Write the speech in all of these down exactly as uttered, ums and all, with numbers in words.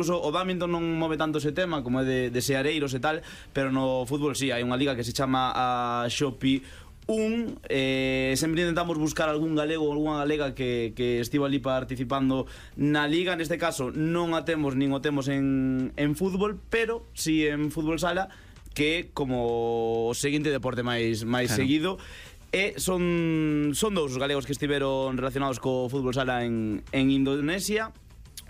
Incluso o badminton non move tanto ese tema como é de, de seareiros e tal, pero no fútbol sí, hai unha liga que se chama a Xopi un, eh, sempre intentamos buscar algún galego ou algunha galega que, que estivo ali participando na liga. Neste caso non a temos nin o temos en, en fútbol, pero sí en fútbol sala, que é como o seguinte deporte máis, máis claro. seguido. E son, son dous galegos que estiveron relacionados co fútbol sala en, en Indonesia.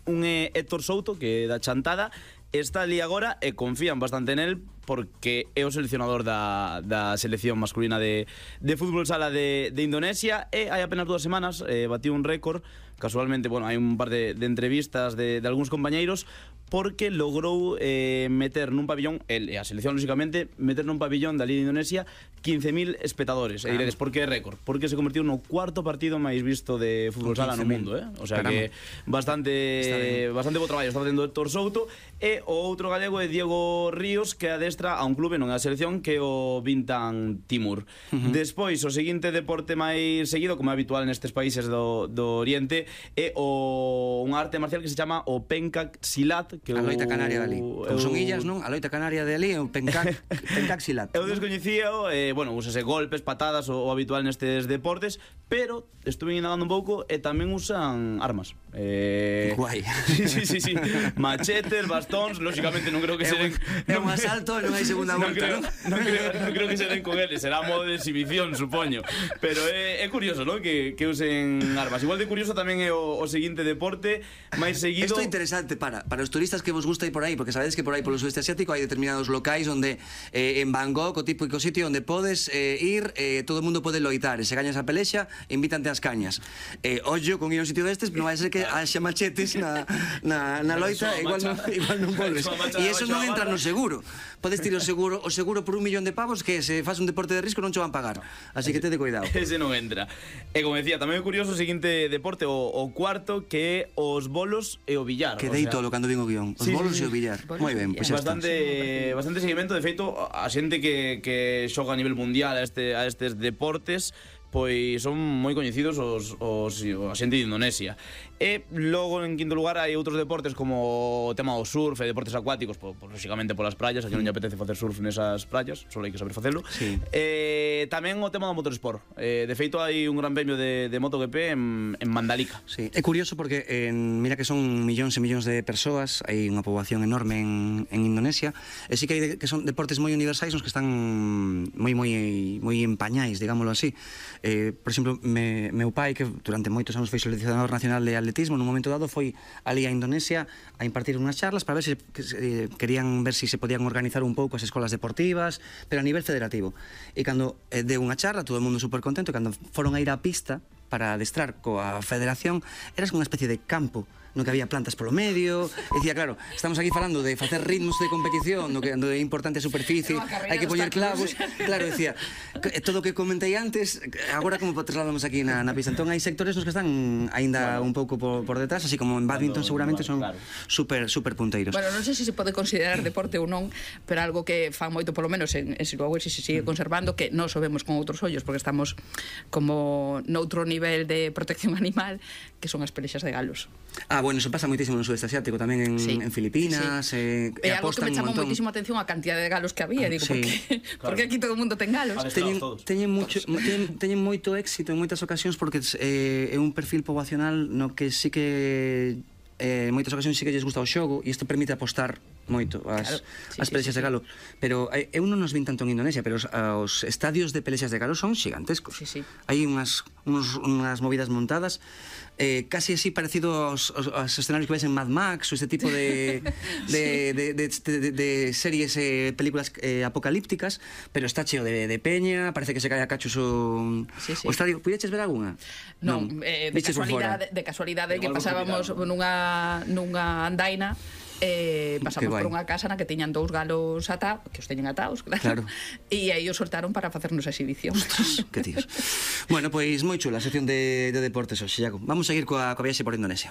Un é Héctor Souto, que é da Chantada, está ali agora e confían bastante en el porque é o seleccionador da, da selección masculina de, de fútbol sala de, de Indonesia. E hai apenas dúas semanas eh, batiu un récord. Casualmente, bueno, hai un par de, de entrevistas de, de algúns compañeiros, porque logrou eh, meter nun pabillón, el e a selección, lógicamente, meter nun pabillón da Liga de Indonesia quince mil espectadores. E diredes, por que récord? Porque se convertiu no cuarto partido máis visto de fútbol sala no mundo, eh? O sea que bastante bastante bo traballo está facendo Héctor Souto. E o outro galego é Diego Ríos, que adestra a un clube, non é a selección, que é o Bintang Timur. Uh-huh. Despois, o seguinte deporte máis seguido, como é habitual nestes países do, do Oriente, é o unha arte marcial que se chama o Pencak Silat, que a loita canaria de ali. Como son illas, non? A loita canaria de ali é o Pencak, Pencak Silat. Eu descoñecía, eh, bueno, úsase golpes, patadas, o, o habitual nestes deportes, pero estuve indagando un pouco e tamén usan armas. Eh... Guai. Sí, sí, sí, sí. Machetes, bastóns, lógicamente non creo que se den... É un asalto e non hai segunda volta, non? Non creo, non creo que se den con eles, será modo de exhibición, supoño. Pero é, é curioso, non? Que, que usen armas. Igual de curioso tamén é o, o seguinte deporte máis seguido... Isto é interesante para, para os turistas que vos gusta ir por aí, porque sabedes que por aí polo sudeste asiático hai determinados locais onde eh, en Bangkok, o típico sitio onde podes eh, ir, eh, todo o mundo pode loitar, e se gañas a pelexa, invítante ás cañas. Eh, ollo con ir a un sitio destes, non vai ser que haxa machetes na, na, na loita, igual non, igual non volves. E eso non entra no seguro. Podes tirar o seguro, o seguro por un millón de pavos que se faz un deporte de risco non che van pagar. Así que tede cuidado. Ese non entra. E como decía, tamén é curioso o seguinte deporte, o, o cuarto, que é os bolos e o billar. Quedei todo cando vin o guión. Os sí, bolos sí, e o billar. Moi ben, pois pues bastante, bastante seguimento. De feito, a xente que, que xoga a nivel mundial a, este, a estes deportes, pois son moi coñecidos os, os, a xente de Indonesia. E logo, en quinto lugar, hai outros deportes como o tema do surf e deportes acuáticos, po, po, lógicamente polas praias. Aquí non lle apetece facer surf nesas praias, só hai que saber facelo. Sí. E tamén o tema do motorsport. E, de feito, hai un gran premio de, de MotoGP en, en Mandalika. Sí. É curioso porque en, mira que son millóns e millóns de persoas, hai unha poboación enorme en, en Indonesia, e sí que hai de, que son deportes moi universais, nos que están moi moi moi empañais, digámoslo así. Eh, por exemplo, me, meu pai, que durante moitos anos foi seleccionador nacional de atletismo, nun momento dado foi ali a Indonesia a impartir unhas charlas para ver se, que, eh, querían ver se si se podían organizar un pouco as escolas deportivas, pero a nivel federativo. E cando eh, deu unha charla, todo o mundo super contento, e cando foron a ir á pista para adestrar coa federación, eras unha especie de campo no que había plantas polo medio, e dicía, claro, estamos aquí falando de facer ritmos de competición, no que é importante a superficie, hai que poñer clavos, claro, decía, todo o que comentei antes, agora como trasladamos aquí na, na pista. Entón hai sectores nos que están aínda un pouco por, por detrás, así como en badminton seguramente son super, super punteiros. Bueno, non sei se se pode considerar deporte ou non, pero algo que fan moito, polo menos en, en Siluagüe, se se sigue conservando, que non o vemos con outros ollos, porque estamos como noutro nivel de protección animal, que son as pelexas de galos. Ah, bueno, eso pasa moitísimo no sudeste asiático, tamén en, sí. en Filipinas, sí, sí. Eh, e algo que me chamou moitísimo atención a cantidade de galos que había, digo, sí. porque, claro. porque aquí todo o mundo ten galos. Teñen, teñen, mucho, teñen, teñen moito éxito en moitas ocasións porque eh, é un perfil poboacional no que sí que eh, en moitas ocasións sí que lles gusta o xogo, e isto permite apostar moito as, claro. sí, as pelexas sí, sí, de galo. Pero eh, eu non nos vin tanto en Indonesia, pero os, os estadios de pelexas de galo son xigantescos. Sí, sí. Hai unhas, unos, unhas movidas montadas eh, casi así parecido aos, aos, aos escenarios que ves en Mad Max, ou este tipo de, de, de, de, de, de, de series, eh, películas eh, apocalípticas, pero está cheo de, de peña, parece que se cae a cachos o, sí, sí. o estadio. Puideches ver alguna? Non, non eh, de, casualidade, de casualidade que pasábamos nunha, nunha andaina, eh, pasamos por unha casa na que tiñan dous galos atados, que os teñen atados, claro, claro. E aí os soltaron para facernos a exhibición. Ostras, que tíos. Bueno, pois moi chula a sección de, de deportes hoxe, Iago. Vamos a seguir coa, coa viaxe por Indonesia.